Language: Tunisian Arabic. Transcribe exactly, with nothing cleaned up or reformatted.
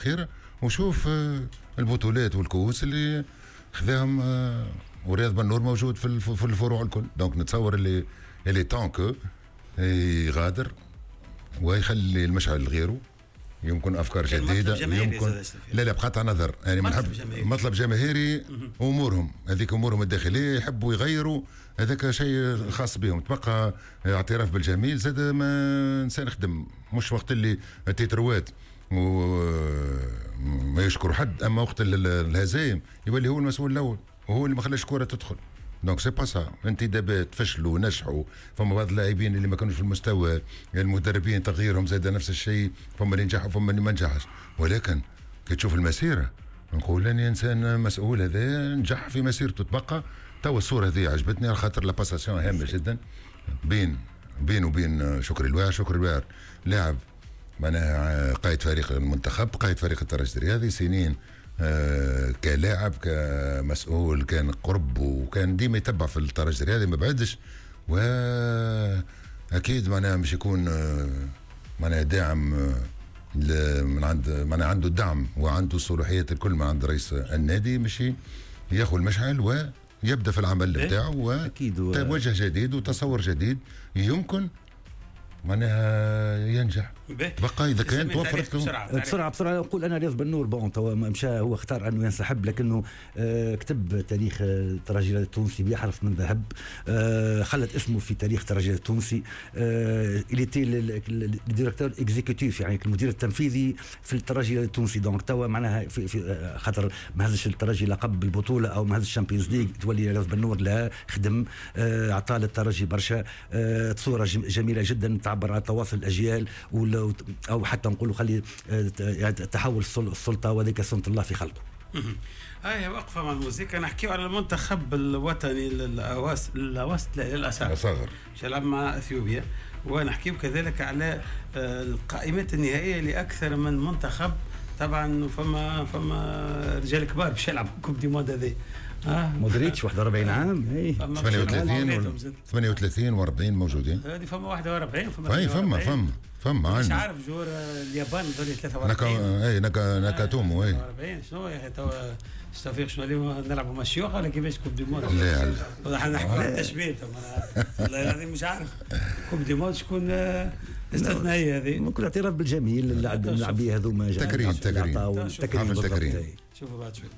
الاخيرة، وشوف آه، البطولات والكؤوس اللي خذاهم، آه، ورياض بنور موجود في في الفروع الكل. donc نتصور اللي il est temps que يغادر ويخلي المشعل لغيره، يمكن افكار جديده، يمكن لا لا بقطع نظر يعني ما نحب مطلب جماهيري، امورهم هذيك امورهم الداخليه، يحبوا يغيروا هذاك شيء خاص بهم. تبقى اعتراف بالجميل زاد ما انسان خدم، مش وقت اللي تيتروات وما يشكروا حد، اما وقت الهزايم يولي هو المسؤول الاول وهو اللي ما خلاش الكره تدخل. donc c'est pas ça. انتدابات فشلوا ونجحوا، فما بعض اللاعبين اللي ما كانوش في المستوى، المدربين تغييرهم زاد نفس الشيء، فما اللي نجحوا فما اللي ما نجحش. ولكن كي تشوف المسيرة نقول اني انسان مسؤول هذا نجح في مسيرته. تبقى تو الصورة هذه عجبتني على خاطر la passation هامة جدا بين بين وبين شكري الواعر. شكري الواعر لاعب معناها قائد فريق المنتخب، قائد فريق الترجي الرياضي سنين، آه كلاعب كمسؤول كان قرب وكان ديما يتبع في الترجي الرياضي ما بعدش، واكيد معناها مش يكون آه معناها داعم آه من عند معناها عنده الدعم وعنده الصلاحيات الكل من عند رئيس النادي مش ياخذ المشعل ويبدا في العمل بتاعه وتوجه جديد وتصور جديد يمكن معناها ينجح. تبقى اذا كان توفرت له بسرعة بسرعة بسرعه. نقول انا رياض بنور bon توا مشى، هو اختار انه ينسحب، لكنه آه كتب تاريخ الترجي التونسي بحرف من ذهب، آه خلت اسمه في تاريخ الترجي التونسي. آه il était ال directeur exécutif، يعني المدير التنفيذي في الترجي التونسي. donc توا معناها في, في خاطر ما هزش الترجي لقب بالبطولة او ما هزش ال Champions League تولي رياض بنور لا خدم، آه عطى للترجي برشا، آه صوره جميلة جدا تعبر على تواصل الاجيال او حتى نقولوا خلي يعني تحول السلطه، وذلك سنة الله في خلقه. هاي وقفة مع الموسيقى، نحكيو على المنتخب الوطني للأواس للأواسط للأصغر أصغر يلعب مع اثيوبيا، ونحكيو كذلك على آه، القائمات النهائية لأكثر من منتخب. طبعا فما فما رجال كبار باش يلعبوا coupe du monde هذه. آه. مودريتش واحد وأربعين عام. ثمانية وثلاثين ثمانية وثلاثين وأربعين موجودين. هذه فما واحد وأربعين فما فما فما فما فما مش عارف joueur اليابان ذولي ثلاثة وأربعين. نكا اي نكا ناكاتومو اي. أربعين شنو يا اخي؟ توا توفيق شنو اليوم نلعبوا مع الشيوخ ولا كيفاش coupe du monde؟ لا. لا، نحكوا على التشبيه، والله العظيم مش عارف coupe du monde شكون استثنائية هذه. ممكن اعتراف بالجميل، اللاعب اللاعبيه هذوما. تكريم تكريم. تكريم. تكريم. شوفوا بعد شوي.